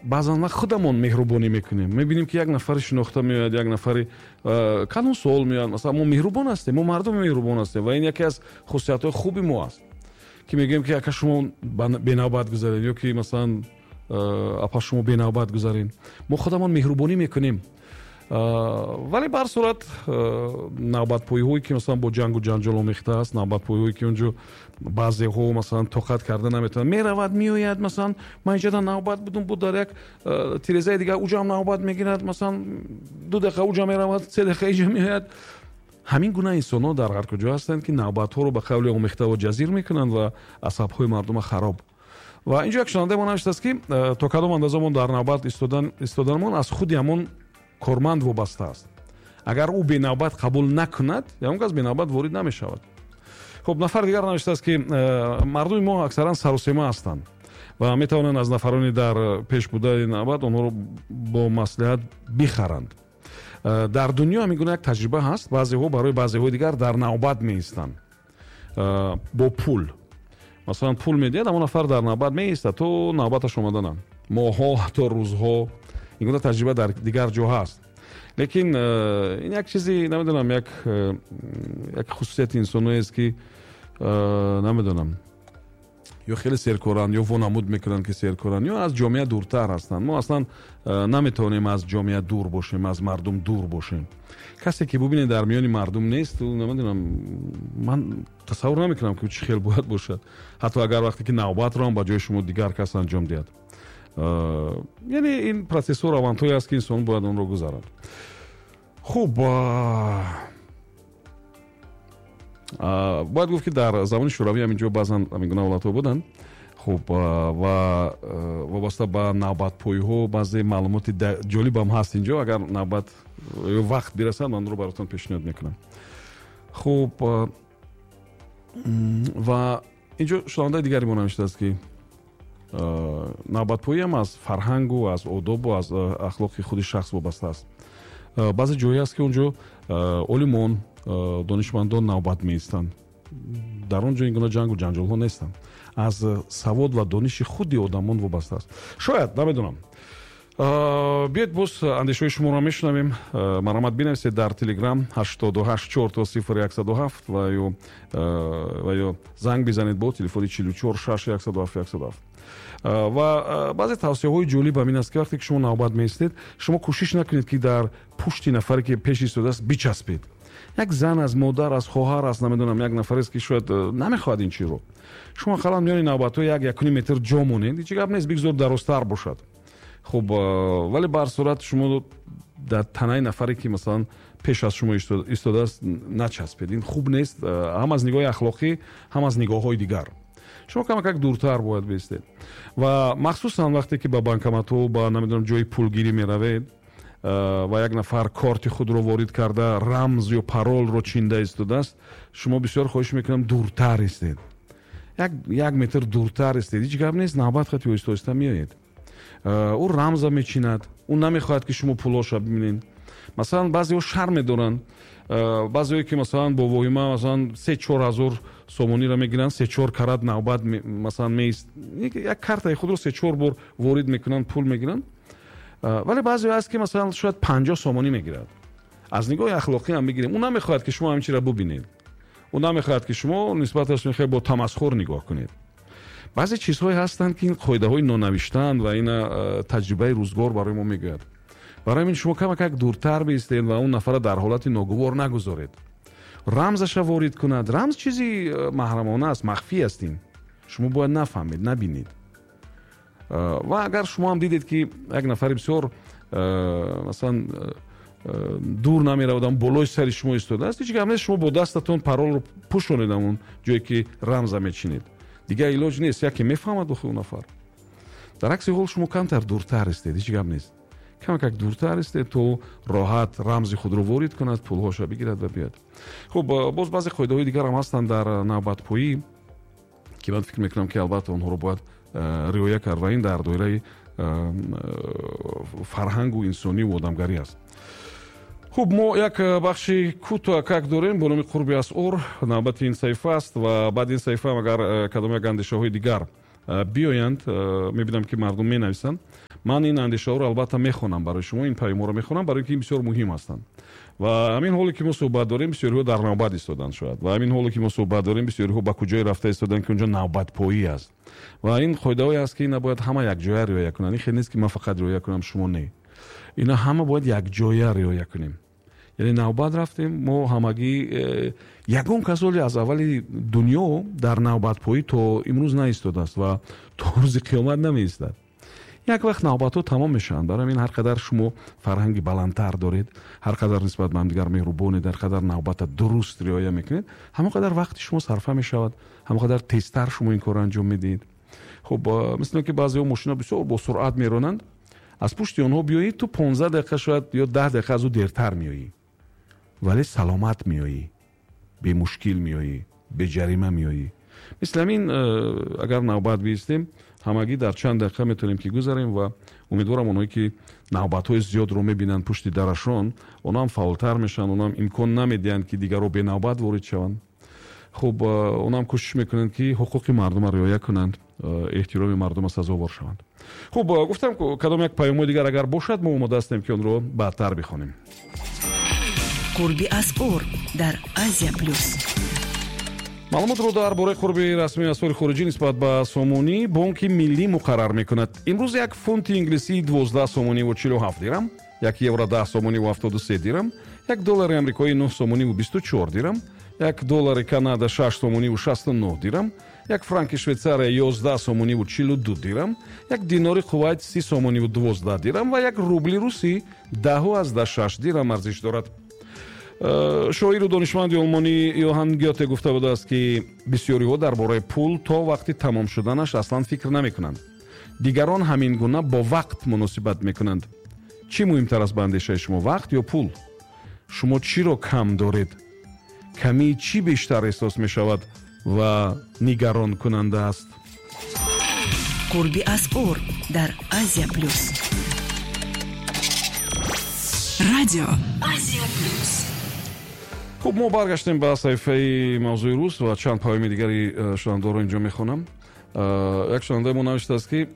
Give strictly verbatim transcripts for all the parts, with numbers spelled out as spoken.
Баъзан вақт худамон меҳрубонӣ мекунем, мебинем, ки як нафари шинохта меояд, як нафари калонсол меояд. Масалан, мо меҳрубон ҳастем, мо мардуми меҳрубон ҳастем ва ин яке аз хусусиятҳои хуби мо аст, ки мегӯем, ки ака, шумо бенавбат гузаред, ё ки масалан, апа, шумо бенавбат гузаред. Мо худамон меҳрубонӣ мекунем, вале ба ҳар сурат навбатпоиҳое, ки масалан бо ҷангу ҷанҷол омехта аст, навбатпоиҳое, ки онҷо баъзеҳо масалан тоқат карда наметавонанд, меравад, меояд. Масалан, ман инҷода навбат будум, буд дар як тирезаи дигар, уҷам навбат мегирад, масалан, ду дақиқа уҷа меравад, се дақиқа иҷа меояд. Ҳамин гуна инсонҳо дар ҳар куҷо ҳастанд, ки навбатҳоро ба қавли омехтаву ҷазир мекунанд ва асабҳои мардума хароб. Ва инҷо як шунавандаи мо навиштааст, ки то кадом андоза мо дар навбат истоданамон аз худи ҳамон корманд вобаста аст. Агар ӯ бенавбат қабул накунад, ягон кас бенавбат ворид намешавад. Хуб, нафар дигар навиштааст, ки мардуми мо аксаран сарусема ҳастанд ва метавонанд аз нафарони дар пеш будаи навбат онҳоро бо маслиҳат бихаранд. Дар дунё ҳамин гуна як таҷриба ҳаст, баъзеҳо барои баъзеҳои дигар дар навбат меистанд бо пул. Масалан, пул медиҳад, ҳамон нафар дар навбат меистад то навбаташ омаданам, моҳҳо, ҳатто рӯзҳо. Ин гуна таҷриба дар дигар ҷо ҳаст, лекин ин як чизи, намедонам, як як хусусияти инсоноест, ки намедонам, ё хеле серкоранд, ё вонамуд мекунанд, ки серкоранд, ё аз ҷомеа дуртар ҳастанд. Мо аслан наметавонем аз ҷомеа дур бошем, аз мардум дур бошем. Касе ки бубинед дар миёни мардум нест, намедонам, ман тасаввур намекунам, ки чӣ хел бояд бошад, ҳатто агар вақте ки навбатро ҳам ба ҷои шумо дигар кас анҷом диҳад. Яъне ин процессҳо равандҳое аст, ки инсон бояд онро гузарад. Хуб, бояд гуфт, ки дар замони шӯравӣ ҳам инҷо баъзан ҳамин гуна ҳолатҳо буданд. Хуб, ва вобаста ба навбатпоиҳо баъзе маълумоти ҷолибам ҳаст инҷо. Агар навбат ё вақт бирасад, ман онро баротон пешниҳод мекунам. Хуб, ва инҷо шунавандаи дигари мо навиштааст, ки навбатпоиам аз фарҳангу аз одобу аз ахлоқи худи шахс вобаста аст. Баъзе ҷое аст, ки онҷо олимон, донишмандон навбат меистанд, дар он ҷо ин гуна ҷангу ҷанҷолҳо нестанд. Аз савод ва дониши худи одамон вобаста аст, шояд, намедонам. Биёед, боз андешаҳои шуморо мешунавем. Марҳамат, бинависед дар Телеграм ҳаштоду ҳашт чор то сифр яксаду ҳафт ва ё ва ё занг бизанед бо телефони чилу чор шаш яксаду ҳафт яксаду ҳафт. Ва баъзе тавсияҳои ҷолиб ҳам ин аст, ки вақте ки шумо навбат меистед, шумо кӯшиш накунед, ки дар пушти нафаре, ки пеш истодааст, бичаспед. Як зан аст, модар аст, хоҳар аст, намедонам, як нафарест, ки шояд намехоҳад ин чизро. Шумо ақаллан миёни навбатҳо як якуним метр ҷо монед, ҳеҷ гап нест, бигзор дарозтар бошад. Хуб, вале ба ҳар сурат шумо дар танаи нафаре, ки масалан пеш аз шумо истодааст, начаспед. Ин хуб нест, ҳам аз нигоҳи ахлоқӣ, ҳам аз нигоҳҳои дигар. Шумо камакак дуртар бояд биистед. Ва махсусан вақте ки ба банкоматҳо, ба намедонам ҷои пулгирӣ меравед ва як нафар корти худро ворид карда, рамз ё паролро чинда истодааст, шумо бисёр хоҳиш мекунам, дуртар истед, як як метр дуртар истед. Ҳеҷ гап нест, навбат хати оҳиста оҳиста меоед. Ӯ рамза мечинад, ӯ намехоҳад, ки шумо пулоша бибинед. Масалан, баъзеҳо шарм медоранд, баъзеҳое ки масалан бо воҳима масалан се чор ҳазор сомониро мегиранд, се чор карат навбат масалан меист, як картаи худро се чор бор ворид мекунанд, пул мегиранд. Вале баъзеҳо ҳаст, ки масалан шояд панҷоҳ сомонӣ мегирад. Аз нигоҳи ахлоқӣ ҳам бигирем, ӯ намехоҳад, ки шумо ҳамин чизро бубинед, ӯ намехоҳад, ки шумо нисбаташ мехоҳед бо тамасхур нигоҳ кунед. Баъзе чизҳое ҳастанд, ки ин қоидаҳои нонавиштаанд ва ина таҷрибаи рӯзгор барои мо мегӯяд. Барои ҳамин шумо камакак дуртар биистед ва он нафарро дар ҳолати ногувор нагузоред. Рамзаша ворид кунад. Рамз чизи маҳрамона аст, махфӣ аст, ин шумо бояд нафаҳмед, набинед. Ва агар шумо ҳам дидед, ки як нафари бисёр масалан дур намеравад, ам болои сари шумо истодааст, ҳеҷ гап нест, шумо бо дастатон паролро пӯшонед ҳамон ҷое, ки рамза мечинед. Дигар илоҷ нест, яке мефаҳмад охи он нафар. Дар акси ҳол шумо камтар дуртар истед, ҳеҷ гап нест, камакак дуртар истед, то роҳат рамзи худро ворид кунад, пулҳоша бигирад ва биёяд. Хуб, боз баъзе қоидаҳои дигар ҳам ҳастанд дар навбатпоӣ, ки ман фикр мекунам, ки албатта онҳоро бояд риоя кард ва ин дар доираи фарҳангу инсониву одамгарӣ аст. Хуб, мо як бахши кӯтоҳакак дорем бо номи «Қурби асъор». Навбати ин саҳифа аст ва баъди ин саҳифа агар кадом як андешаҳои дигар биёянд, мебинам, ки мардум менависанд. Ман ин андешаҳоро албатта мехонам барои шумо, ин паёмҳоро мехонам, барои ки ин бисёр муҳим ҳастанд. Ва ҳамин ҳоле ки мо суҳбат дорем, бисёриҳо дар навбат истоданд шояд. Ва ҳамин ҳоле ки мо суҳбат дорем, бисёриҳо ба куҷое рафта истоданд, ки онҷо навбатпоӣ аст. Ва ин қоидаҳое аст, ки ина бояд ҳама якҷоя риоя кунанд. Ин хел нест, ки ман фақат риоя кунам, шумо не. Ина ҳама бояд якҷоя риоя кунем. Яъне навбат рафтем, мо ҳамагӣ э, ягон кас ҳоле аз аввали дунё дар навбатпоӣ то имрӯз наистодааст ва то рӯзи қиёмат намеистад. Як вақт навбатҳо тамом мешаванд. Барои ҳамин ҳар қадар шумо фарҳанги баландтар доред, ҳар қадар нисбат ба ҳамдигар меҳрубонед, ҳар қадар навбата дуруст риоя мекунед, ҳамон қадар вақти шумо сарфа мешавад, ҳамон қадар тезтар шумо ин корро анҷом медиҳед. Хуб, мисли он ки баъзеҳо мошина бисёр бо суръат меронанд, аз пушти онҳо биёӣ, ту понздаҳ дақиқа шояд ё даҳ дақиқа аз ӯ дертар меоӣ, вале саломат меоӣ, бемушкил меоӣ, беҷарима меоӣ. Мисли ҳамин агар навбат биистем, ҳамагӣ дар чанд дақиқа метавонем ки гузарем ва умедворам онҳое ки навбатҳои зиёдро мебинанд пушти дарашон, онҳо ҳам фаъолтар мешаванд, онҳо ҳам имкон намедиҳанд, ки дигарро бенавбат ворид шаванд. Хуб, онҳо ҳам кӯшиш мекунанд, ки ҳуқуқи мардумро риоя кунанд, эҳтироми мардумро сазовор шаванд. Хуб, гуфтам, кадом як паёмҳои дигар агар бошад, мо омода ҳастем, ки онро баъдтар бихонем. Қурби асъор дар Азия Плюс. Маълумотро дар бораи қурби расмии асъори хориҷӣ нисбат ба сомонӣ Бонки Миллӣ муқаррар мекунад. Имрӯз як фунти инглисӣ дувоздаҳ сомониву чилу ҳафт дирам, як евро даҳ сомониву ҳафтоду се дирам, як доллари амрикоӣ нӯҳ сомониву бисту чор дирам, як доллари Канада шаш сомониву шасту нӯҳ дирам, як франки Швейтсария ёздаҳ сомониву чилу ду дирам, як динори Кувайт си сомониву дувоздаҳ дирам ва як рубли русӣ даҳу аздаҳ шаш дирам арзиш дорад. Шоиру донишманди олмонӣ Йоҳан Гёте гуфта будааст, ки бисёриҳо дар бораи пул то вақти тамом шуданаш аслан фикр намекунанд. Дигарон ҳамин гуна бо вақт муносибат мекунанд. Чӣ муҳимтар аст ба андешаи шумо, вақт ё пул? Шумо чиро кам доред? Камии чӣ бештар эҳсос мешавад ва нигаронкунанда аст? Қурби асъор дар Азия Плюс. Радио Азия Плюс. Хуб, мо баргаштем ба саҳифаи мавзӯи рӯз ва чанд паёми дигари шунавандаро инҷо мехонам. Як шунавандаи мо навиштааст, ки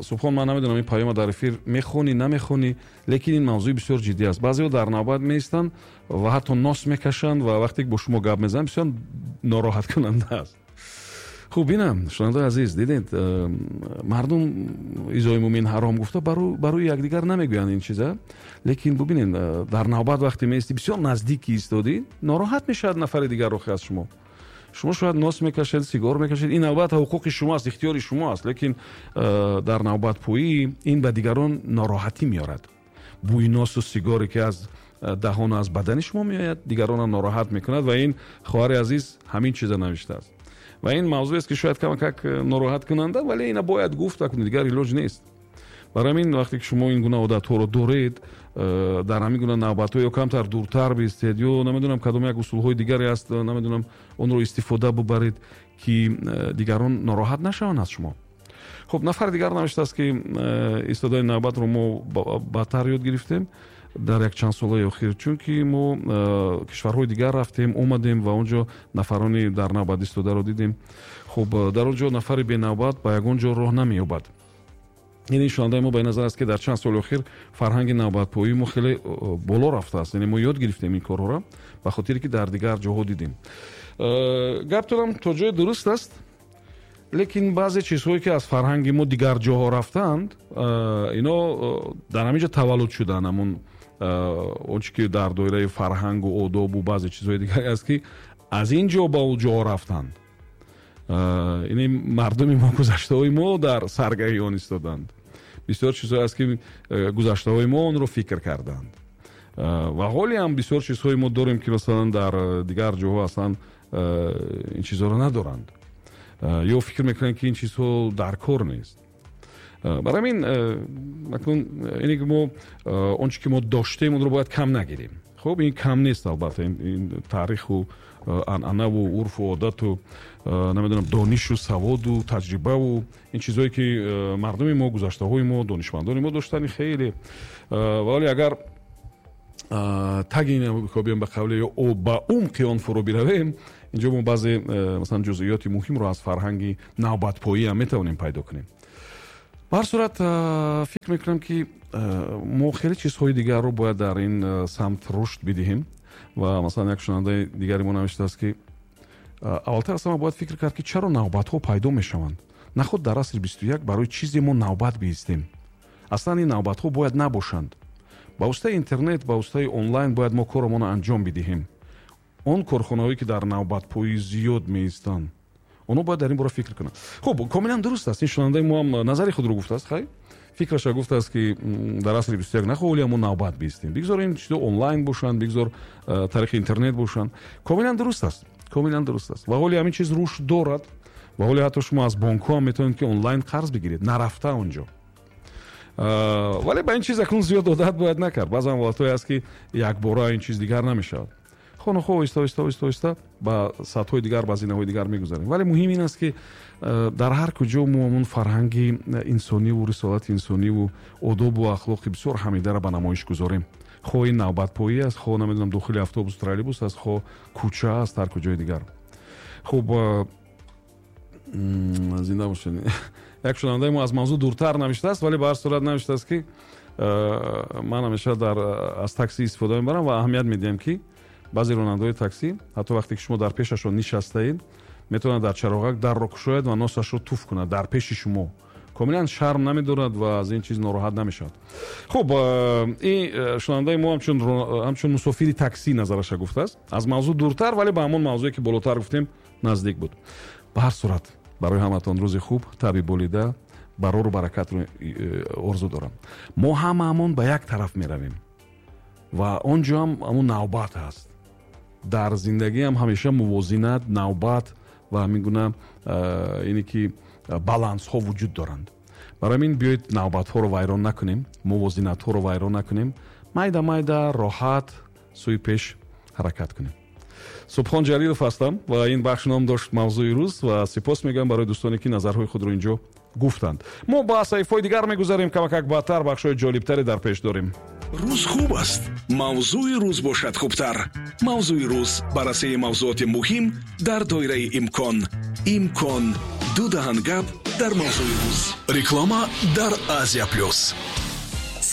Субҳон, ман намедонам ин паёма дар эфир мехонӣ, намехонӣ, лекин ин мавзӯи бисёр ҷиддӣ аст. Баъзеҳо дар навбат меистанд ва ҳатто нос мекашанд ва вақте ки бо шумо гап мезананд, бисёр нороҳаткунанда аст. Хуб, бинам, шунавандаи азиз, дидед, мардум изои мӯмин ҳаром гуфта барои якдигар намегӯянд ин чиза, лекин бубинед, дар навбат вақте меистӣ, бисёр наздик истодӣ, нороҳат мешавад нафари дигар рохи аз шумо. Шумо шояд нос мекашед, сигор мекашед, ин албатта ҳуқуқи шумо аст, ихтиёри шумо аст, лекин дар навбатпоӣ ин ба дигарон нороҳатӣ меорад. Бӯи носу сигоре ки аз даҳону аз бадани шумо меояд, дигаронро нороҳат мекунад ва ин хоҳари азиз ҳамин чиза навиштааст. Ва ин мавзӯест, ки шояд камакак нороҳаткунанда, вале ина бояд гуфт, акун дигар илоҷ нест. Барои ҳамин вақте ки шумо ин гуна одатҳоро доред, дар ҳамин гуна навбатҳо ё камтар дуртар бистед, ё намедонам кадом як усулҳои дигаре аст, намедонам онро истифода бубаред, ки дигарон нороҳат нашаванд аз шумо. Хуб, нафари дигар навиштааст, ки истодани навбатро мо баъдтар ёд гирифтем дар як чанд солаи охир, чунки мо кишварҳои дигар рафтем, омадем ва он ҷо нафарони дар навбат истодаро дидем. Хуб, дар он ҷо нафари бенавбат ба ягон ҷо роҳ намеёбад. Яъне шунавандаи мо ба ин назар аст, ки дар чанд соли охир фарҳанги навбатпоии мо хеле боло рафтааст. Яъне мо ёд гирифтем ин корҳоро, ба хотире ки дар дигар ҷоҳо дидем. Гаптонам то ҷое дуруст аст, лекин баъзе чизҳое ки аз фарҳанги мо дигар ҷоҳо рафтаанд, ино дар ҳамин ҷо таваллуд шуданд. Ҳамон он чи ки дар доираи фарҳангу одобу баъзе чизҳои дигаре аст, ки аз ин ҷо ба он ҷоҳо рафтанд. Ини мардуми мо, гузаштаҳои мо дар саргаҳи он истоданд. Бисёр чизҳое аст, ки гузаштаҳои мо онро фикр карданд. Ва ҳоле ҳам бисёр чизҳои мо дорем, ки масалан дар дигар ҷоҳо аслан ин чизҳоро надоранд ё фикр мекунанд, ки ин чизҳо дар кор нест. Барои ҳамин акнун ине ки мо он чи ки мо доштем, онро бояд кам нагирем. Хуб, ин кам нест албатта, ин таъриху анъанаву урфу одату намедонам донишу саводу таҷрибаву ин чизҳое ки мардуми мо, гузаштаҳои мо, донишмандони мо доштани хеле. Вале агар таги ин биём ба қавле ё ба умқи он фуро биравем, инҷо мо баъзе масалан ҷузъиёти муҳимро аз фарҳанги навбатпоӣ ҳам метавонем пайдо кунем. Ба ҳар сурат, фикр мекунам, ки мо хеле чизҳои дигарро бояд дар ин самт рушд бидиҳем. Ва масалан, як шунавандаи дигари мо навиштааст, ки аввалтар аз ҳама бояд фикр кард, ки чаро навбатҳо пайдо мешаванд. Наход дар асри бисту як барои чизе мо навбат биистем. Аслан ин навбатҳо бояд набошанд. Ба воситаи интернет, ба воситаи онлайн бояд мо корамонро анҷом бидиҳем. Он корхонаҳое, ки дар навбатпоӣ зиёд меистанд, онҳо бояд дар ин бора фикр кунанд. Хуб, комилан дуруст аст. Ин шунавандаи мо ҳам назари худро гуфтааст, хай? Фикраша гуфтааст, ки дар асри бисту як нахоҳ мо навбат биистем. Бигзор ин чизҳо онлайн бошанд, бигзор тариқи интернет бошанд. Комилан дуруст аст. Комилан дуруст аст. Ва ҳоле ҳамин чиз рушд дорад. Ва ҳоле ҳатто шумо аз бонкҳо ҳам метавонед, ки онлайн қарз бигиред, нарафта онҷо. Вале ба ин чиз акнун зиёд одат бояд накард. Баъзан ҳолатҳое аст, ки якбора ин чиз дигар намешавад. Хонахо оҳиста оҳиста оҳиста оҳиста ба сатҳҳои дигар, ба зинаҳои дигар мегузарем. Вале муҳим ин аст, ки дар ҳар куҷо мо ҳамон фарҳанги инсониву рисолати инсониву одобу ахлоқи бисёр ҳамидаро ба намоиш гузорем. Хоҳ ин навбатпоӣ аст, хоҳ намедонам дохили автобус, троллейбус аст, хоҳ кӯча аст, ҳар куҷои дигар. Хуб, зинда бошед. Як шунавандаи мо аз мавзӯъ дуртар навиштааст, вале ба ҳар сурат навиштааст, ки ман ҳамеша дар аз такси истифода мебарам ва аҳамият медиҳам, ки баъзе ронандаҳои такси ҳатто вақте ки шумо дар пешашон нишастаед, метавонад дар чароғак дарро кушояд ва носашро туф кунад дар пеши шумо. Комилан шарм намедорад ва аз ин чиз нороҳат намешавад. Хуб, ин шунавандаи мо ҳамчун ҳамчун мусофири такси назараша гуфтааст. Аз мавзӯъ дуртар, вале ба ҳамон мавзӯе, ки болотар гуфтем, наздик буд. Ба ҳар сурат, барои ҳаматон рӯзи хуб, таби болида, барору баракатро орзу дорам. Мо ҳамаамон ба як тараф меравем ва он ҷо ҳам ҳамон навбат ҳаст. Дар зиндагиам ҳамеша мувозинат, навбат ва ҳамин гуна ине ки балансҳо вуҷуд доранд. Барои ҳамин биёед навбатҳоро вайрон накунем, мувозинатҳоро вайрон накунем, майда майда роҳат сӯи пеш ҳаракат кунем. Субҳон Ҷалилов ҳастам ва ин бахш ном дошт мавзӯи рӯз ва сипос мегӯям барои дӯстоне, ки назарҳои худро инҷо гуфтанд. Мо ба саҳифаҳои дигар мегузарем, камакак баъдтар бахшҳои ҷолибтаре дар пеш дорем. Рӯз хуб аст, мавзӯи рӯз бошад хубтар. Мавзӯи рӯз баррасии мавзӯоти муҳим дар доираи имкон. Имкон ду даҳан гап дар мавзӯи рӯз. Реклама дар Азия Плюс.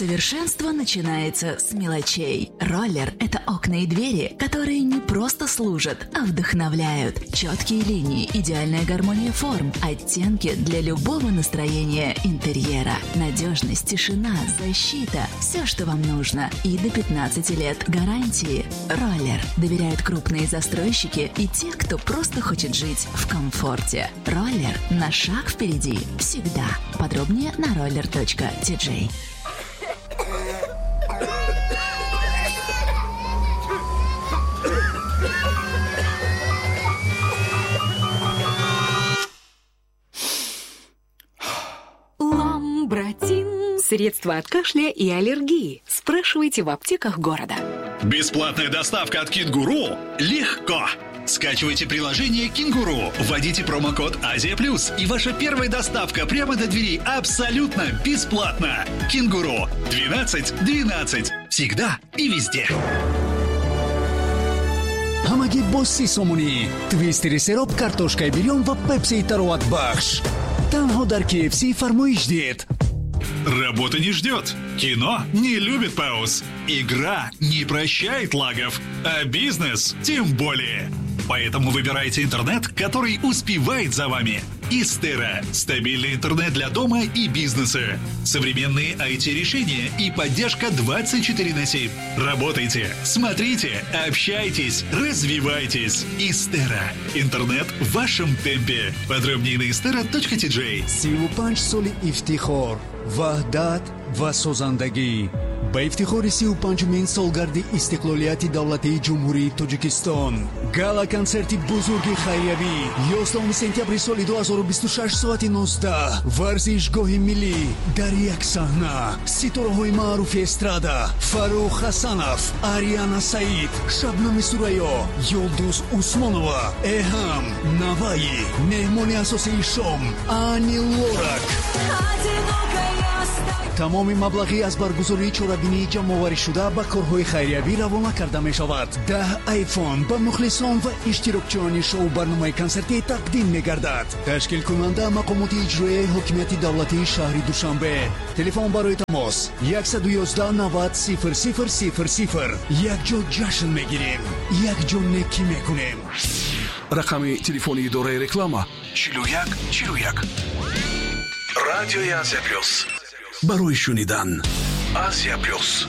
Совершенство начинается с мелочей. Роллер – это окна и двери, которые не просто служат, а вдохновляют. Четкие линии, идеальная гармония форм, оттенки для любого настроения интерьера. Надежность, тишина, защита – все, что вам нужно. И до пятнадцати лет гарантии. Роллер доверяют крупные застройщики и те, кто просто хочет жить в комфорте. Роллер на шаг впереди всегда. Подробнее на роллер точка ти джей. Ламбратин. Средства от кашля и аллергии. Спрашивайте в аптеках города. Бесплатная доставка от Кенгуру легко. Скачивайте приложение «Кенгуру», вводите промокод «Азия Плюс», и ваша первая доставка прямо до двери абсолютно бесплатно. «Кенгуру» двенадцать двенадцать. Всегда и везде. Ҳамагӣ бо си сомонӣ. Твистери сероб, картошкаи бирён ва пепсии тароватбахш. Танҳо дар кей эф си фармоиш диҳед. Работа не ждет, кино не любит пауз, игра не прощает лагов, а бизнес тем более. Поэтому выбирайте интернет, который успевает за вами. Истера – стабильный интернет для дома и бизнеса. Современные ай ти-решения и поддержка двадцать четыре на семь. Работайте, смотрите, общайтесь, развивайтесь. Истера – интернет в вашем темпе. Подробнее на истера точка ти джей. Сию панҷ соли ифтихор, ваҳдат ва созандагӣ. Ба ифтихори сию панҷумин солгарди истиқлолияти давлатии Ҷумҳурии Тоҷикистон. Гала-консерти бузурги хайриявӣ ёздаҳуми сентябри соли ду ҳазору бисту шаш соати нуздаҳ. Варзишгоҳи миллӣ дар як саҳна. Ситораҳои маъруфи эстрада Фаррух Ҳасанов, Ариана Саид, Шабнами Сурайё, Юлдуз Усмонова, Эҳам, Наваи. Меҳмони асосии шом Ани Лорак. Одинокая стою. Тамоми маблағӣ аз баргузории чорабинии ҷамъоварӣшуда ба корҳои хайриявӣ равона карда мешавад. Даҳ айфон ба мухлисон ва иштирокчиёни шоу барномаи консертӣ тақдим мегардад. Ташкилкунанда мақомоти иҷроияи ҳокимияти давлатии шаҳри Душанбе. Телефон барои тамос яксаду ёздаҳ навад сифр сифр сифр сифр. Якҷо ҷашн мегирем, якҷо некӣ мекунем. Рақами телефони идораи реклама чилу як чилу як. Радиои Азия Плюс. Барои шунидан. Азия Плюс.